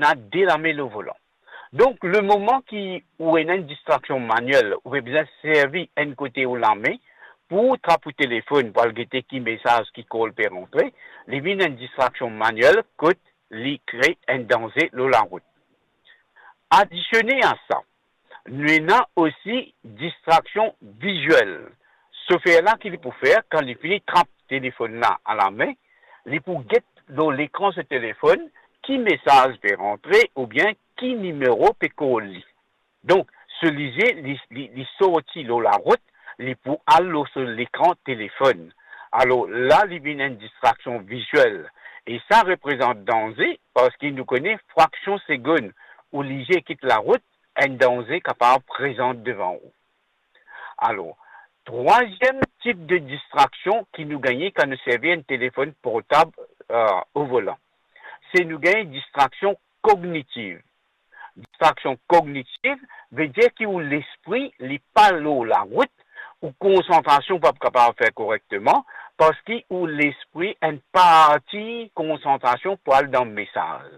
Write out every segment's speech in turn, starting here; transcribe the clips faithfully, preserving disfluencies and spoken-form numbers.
ena de lame lor volan. Donk, lemoman ki ou ena enn distraksion maniel, ou pe bizin servi enn kote ou lame pou trap ou telefonn, pou al gete ki mesaz, ki call pe rantre, li vinn enn distraksion maniel kot li kre enn danze lor larout. Adisione a sa, nou ena osi distraksion viziel. Sofer la, ki li pou fer, kan li fini trap telefonn la a lame, li pou get lor lekran so telefonn ki mesaz pe rantre oubien ki nimero pe call li. Donk, so lizie, li, li, li sorti lor larout, li pou al lor so lekran telefonn. Alor, la, li vinn enn distraksion viziel. E sa reprezant danze, parski nou kone fraksion segonn ou lizie kit larout, enn danze kapav prezant devan ou. Alor, trwaziem tip de distraksion ki nou gagne kan nou servi enn telefonn portab, eh, o volan, se nou gagn distraksion kognitiv. Distraksion kognitiv vedir ki ou lespri, li pa lor larout, ou konsantrasion pa kapav fer korekteman, parski ou lespri, enn parti konsantrasion pou al dan mesaz.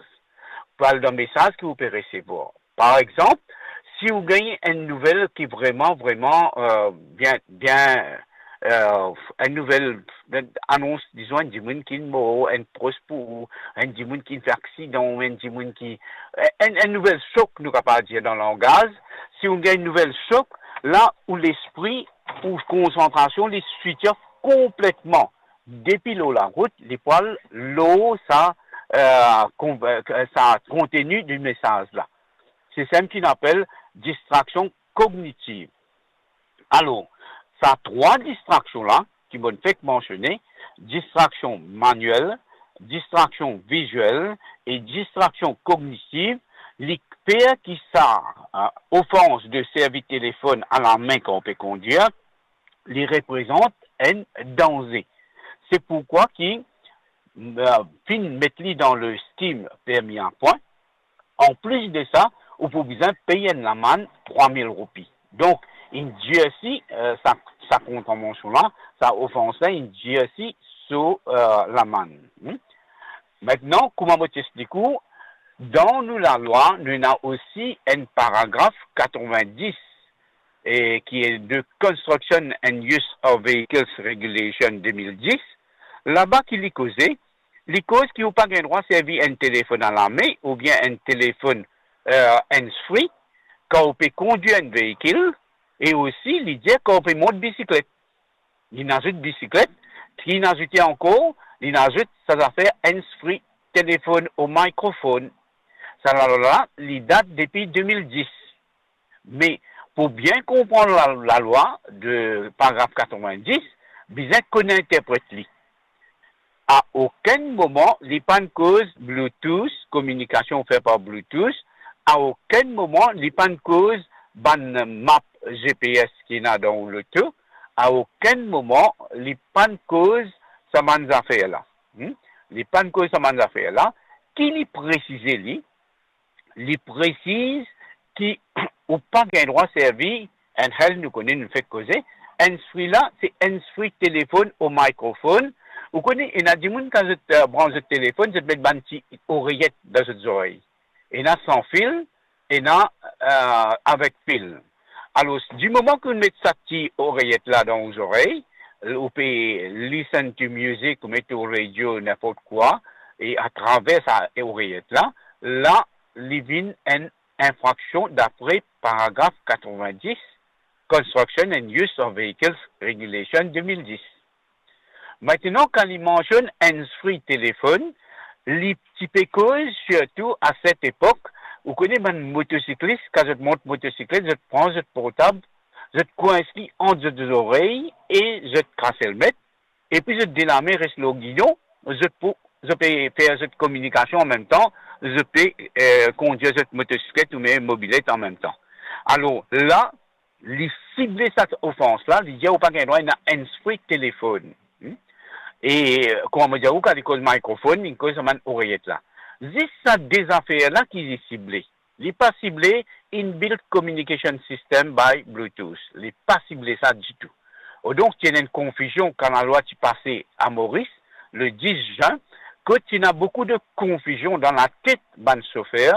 Pou al dan mesaz ki ou pe resevwar. Par exanp, si ou gagn enn nouvel ki vreman, vreman, eh, bien, bien, eh, enn nouvel, enn anons, dizon, enn dimoun ki mor, enn pros pou ou, enn dimoun ki fer aksidan, enn dimoun ki, enn, enn nouvel sok, nou kapav dir dan langaz, si ou gagn enn nouvel sok, la, ou lespri, ou konsantrasion, li switch off konpletman. Depi lor larout, li pou al lor sa, eh, kon-, eh, sa konteni di mesaz la. Se sa ki nou apel distraksion kognitiv. Alor, sa trwa distraksion la, ki mo'nn fek mansione, distraksion maniel, distraksion viziel e distraksion kognitiv, li fer ki sa, eh, ofans de servi telefonn a lame kan ou pe kondwir, li reprezant enn danze. Se pourkwa ki, eh, finn met li dan le scheme permis à points, anplis de sa, ou pou bizin pey enn lamann trwa mil roupi. Donk, inn dirsi, eh, sa, sa kontravansion la, sa ofans la, inn dirsi so, eh, lamann. Hmm? Aster, kouma mo ti explik ou, dan nou lalwa, nou ena osi enn paragraf katrevin-dis, e ki e de Construction and Use of Vehicles Regulation de mil dis, laba ki li koze, li koz ki ou pa gagn drwa servi enn telefonn a lame oubien enn telefonn, eh, hands-free, kan ou pe kondwir enn veikil, e osi li dir kan ou pe mont bisiklet. Li azout bisiklet, ki li azoute ankor, li azout sa zafer hands-free, telefonn o mikrofonn. Sa lalwa la, li dat depi de mil dis. Me pou bien konpran la, lalwa de paragraf katrevin-dis, bizin konn interpret li. A okenn moman, li pa'nn koz Bluetooth, kominikasion fer par Bluetooth. A okenn moman, li pa'nn koz bann map G P S ki ena dan ou loto. A okenn moman, li pa'nn koz sa bann zafer la. Hmm? Li pa'nn koz sa bann zafer la. Ki li presize li, li presiz ki ou pa gagn drwa servi enn hands-free, nou kone, nou fek koze. Hands-free la, se hands-free telefonn o mikrofonn. Ou kone, ena dimoun kan zot, eh, brans zot telefonn, zot met bann ti oreyet dan zot zorey. Ena san fil, ena, eh, avek fil. Alor, di moman ki ou met sa ti oreyet la dan ou zorey, ou pe listen to music, ou met ou radio, ninport kwa, e atraver sa oreyet la, la, li vinn enn infraksion dapre paragraf katrevin-dis, Construction and Use of Vehicles Regulation de mil dis. Aster, kan li mansionn hands-free telefonn, li ti pe koz sirtou a set epok, ou kone bann motosiklis, kan zot mont motosiklet, zot pran zot portab, zot kwins li ant zot zorey e zot kras elmet, epi zot de lame res lor gidon, zot pou, zot pe fer zot kominikasion anmemtan, zot pe, eh, kondwir zot motosiklet oubien mobilet anmemtan. Alor la, li sible sa ofans la, li dir ou pa gagn drwa ena hands-free telefonn. Hmm? E, eh, kouma mo dir ou, kan li koz mikrofonn, li koz sa bann oreyet la. Zis sa de zafer la ki li sible. Li pa sible inbuilt communication system by Bluetooth. Li pa sible sa ditou. Odonk, ti ena enn konfizion kan lalwa ti pase a Moris, le dis zin, kot ti ena boukou de konfizion dan latet bann sofer,